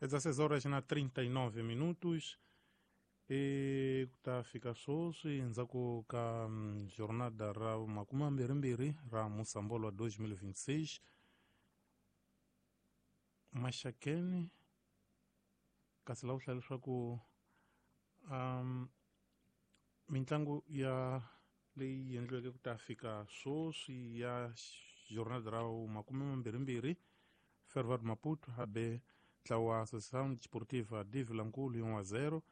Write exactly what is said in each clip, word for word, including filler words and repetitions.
dezesseis horas na trinta e nove minutos e ku ta fika sweswi endzhaku ka jornada ra makume mambirhimbirhi ra Musambolo wa dois mil e vinte e seis Maxakeni kasi laha ku hlaya leswaku um, mintlangu ya leyi endliweke ku ta fika sweswi ya jornada ra makume mambirhimbirhi Ferroviário Maputo a be ntlawa Associação Desportiva de Vilankulo um a zero,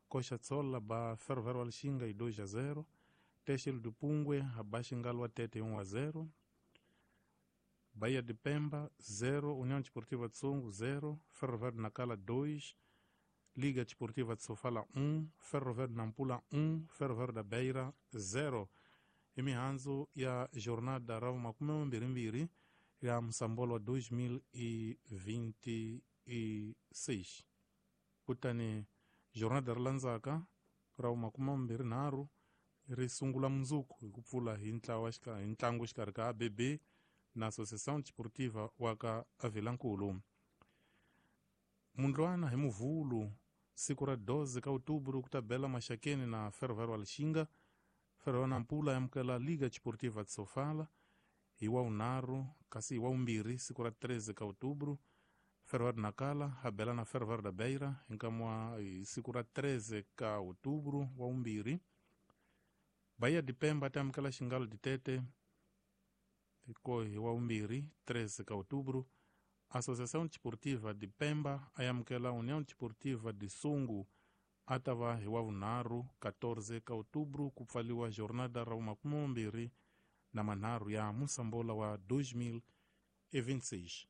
Coxa Tsola ba Ferroviário Lichinga e dois a zero, Têxtil do Pungwe a ba Xingalo Tete um a zero, Bahia de Pemba zero, União Desportiva de Songo zero, Ferroviário Nacala dois, Liga Desportiva de Sofala um, Ferroviário Nampula um, Ferroviário da Beira zero. I mihandzu ya jornada ra makume mambirhimbirhi ya Musambolo wa dois mil e vinte e seis. Kutani jornada ri landzaka ra makume mambirhi nharhu ri sungula mundzuku hi ku pfula hi ntlawa hi ntlangu xikarhi ka A B B na Associação Desportiva wa ka Avilankulu. Mundlwana hi Muvhulu siku ra doze ka Outubro ku ta bela Maxakeni na Ferroviário Lichinga. Ferroviário Nampula amukela Liga Desportiva de Sofala hi wa vunharhu, kasi hi wa vumbirhi siku ra treze ka Outubro Ferroviário Nacala a bela na Ferroviário da Beira hi nkama wa hi siku ra treze ka Outubro wa vumbirhi. Bahia de Pemba ta amukela Xingalo de Tete ko hi wa vumbirhi treze ka Outubro. Associação Desportiva de Pemba a amukela União Desportiva de Songo a ta va hi wa vunharhu quatorze ka Outubro ku pfaliwa jornada ra makume mambirhi na manharhu ya Musambolo wa dois mil e vinte e seis.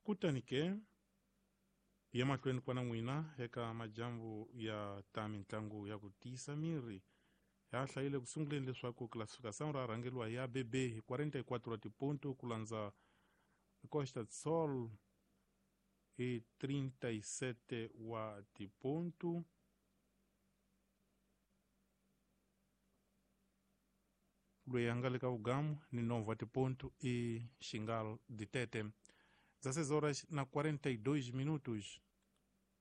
Kutani ke ya mahlweni kwana n'wina eka majambu ya ta mintlangu ya ku tiyisa miri ya hlayile ku sunguleni leswaku classificação ra rhangeriwa hi A B B hi quarenta e quatro wa tiponto ku landza Costa do Sol hi trinta e sete wa tiponto. Loyi a nga le ka vugamu ni nove wa tiponto i Xingalo de Tete. dezesseis horas na quarenta e dois minutos.